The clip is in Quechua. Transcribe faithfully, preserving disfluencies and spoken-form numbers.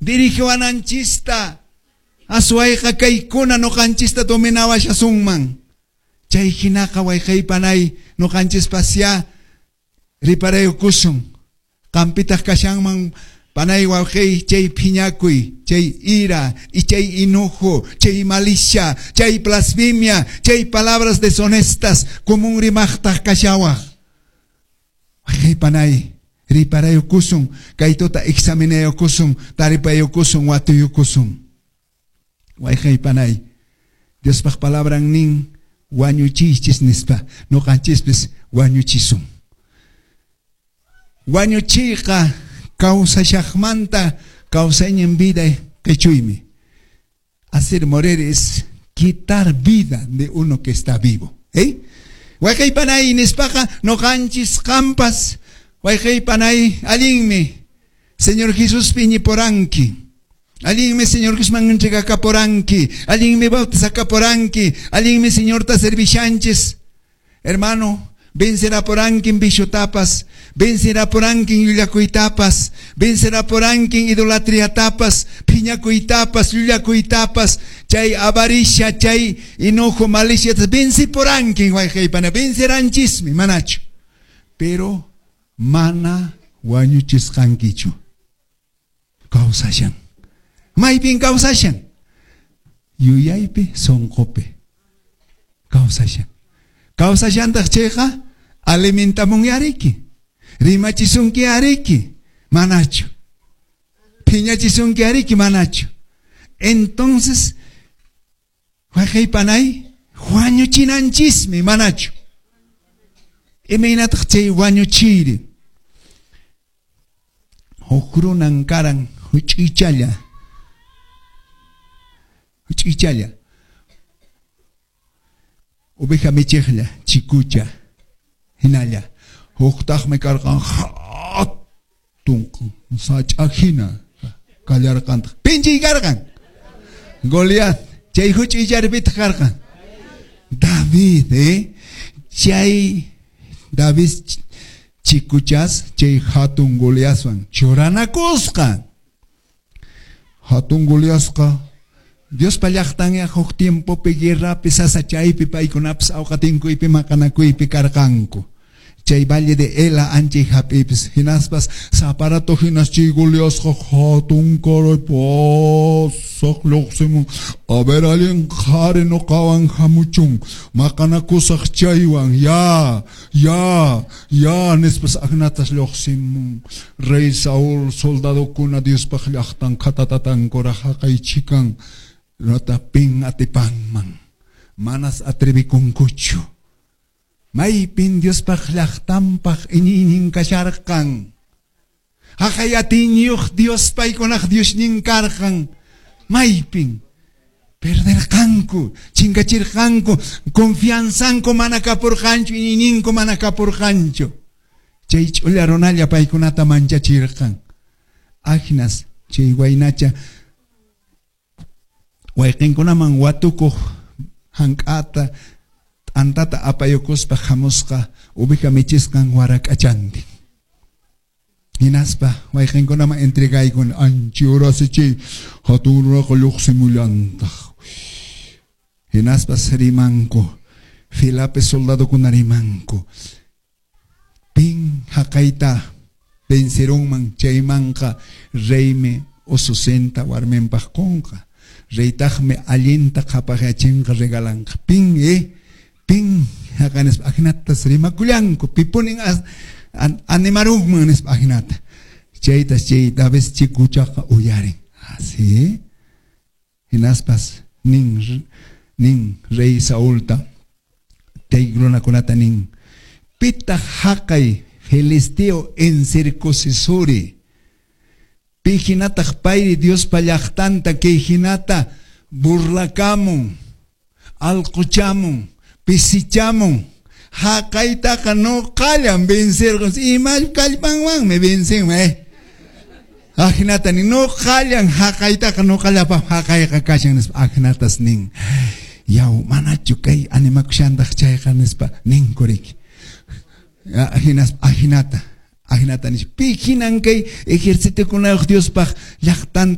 Dirigiwananchista. Aswayqa kaykuna nuqanchista dominawashasunman. Chay hinaqa wayqaypanay nuqanchispasya riparaykusun. Qampitaq kashanman panay wawqey chay phiñakuy, chay ira, y chay enojo, chay malicia, chay blasfemia, chay palabras deshonestas, común rimaqtaq kashawaq. Wayqaypanay riparaykusun, kaytuta examinaykusun, taripaykusun, watuykusun. Wayqaypanay, Diospaq palabran nin wañuchiychis nispa, nuqanchispis wañuchisun. Wañuchiyqa kawsashaqmanta kawsaynin vida qichuymi. Hacer morir es quitar vida de uno que está vivo. ¿Eh? Wayqaypanay nispaqa nuqanchis qampas wayqaypanay allinmi Señor Jesús iñipuranki. Allinmi Señor Jesusman entregakapuranki. Allinmi bautizakapuranki. Allinmi Señorta servishanchis. Hermano, vencerapurankin viciotapas, vencerapurankin llullakuytapas, vencerapurankin idolatriatapas, phiñakuytapas, llullakuytapas, chay avaricia, chay enojo, malicia, vencepurankin wayqaypana, venceranchismi, manachu. Pero mana wañuchisqankichu. Kawsashan. Maypin kawsashan. Yuyaypi, sunqupi. Kawsashan. Kawsashantaq chayqa alimentamun ariki. Rimachisunki ariki. Manachu. Phiñachisunki ariki manachu. Entonces, wayqaypanay wañuchinanchismi manachu. Imaynataq chay wañuchiyri. Huk runan karan huch'uychalla. Huch'uychalla. Oveja michiqlla, chikucha, hinalla. Huktaqmi karqan hatun sach'a hina kallarqantaq. Pinchiy karqan. Goliat, chay huch'uycharpitaq karqan. David, eh? Chay David chikuchas chay hatun Goliatwan churanakusqa. Hatun Goliatqa Diospa llaqtanya huk tiempopi guerrapi sasachaypi paykunapas awqatinkuypi maqanakuypi karqanku. Chay valle de Ela anchay hap'ipis hinaspas saparato hinas chay Goliatqa hatun karay pasaq lluqsimun. A ver allin qhari nuqawan hamuchun maqanakusaq chaywan ya ya ya nispas aqnatas lluqsimun. Rey Saúl soldadokuna Diospaq llaqtan qhatatatankuraq haqay chikan nota pin atipanman manas atrevikunkuchu. Maypin Diospaq llaqtanpaq iñiynin kasharqan. Haqay atiyniyuq Dios paykunaq Diosnin karqan. Maypin perderqanku, chinkachirqanku, confianzanku mana kapurqanchu, iñiyninku mana kapurqanchu. Chay ch'ulla runalla paykunata manchachirqan. Agnas chay waynacha wayqinkunaman watukuq hank'ata t'antata apayukuspa hamusqa oveja michisqan warak'achantin. Hinaspa wayqinkunaman entregaykun anchi urasi chay hatun runaqa lluqsimullantaq. Hinaspas rimanku, filapi soldadokuna rimanku. Pin haqayta vencerunman chaymanqa reymi ususinta warminpaq qunqa. Reytaqmi allinta qhapaqyachinqa regalanqa. Pin eh pin haqay nispa ajinatas rimakullanku pipunin an, animarunman nispa ajinata. Chaytas chay David chikuchaqa uyarin. Así. Hinaspas nin nin rey Saulta chay runakunata nin pitaq haqay filisteo incircuncisori pi hinataq payri Diospa llaqtanta kay hinata burlakamun alquchamun pisichamun haqaytaqa nuqallan vencerqun ima kallpanwanmi vencinman eh ajinata nin nuqallan haqaytaqa nuqallapaq haqayqa kashan nispa ajinatas nin yaw manachu kay animakushantaq chayqa nispa ninkuriki ajinas ajinata ajinata nispa pi hinan kay ejercitokunayuq Diospaq llaqtanta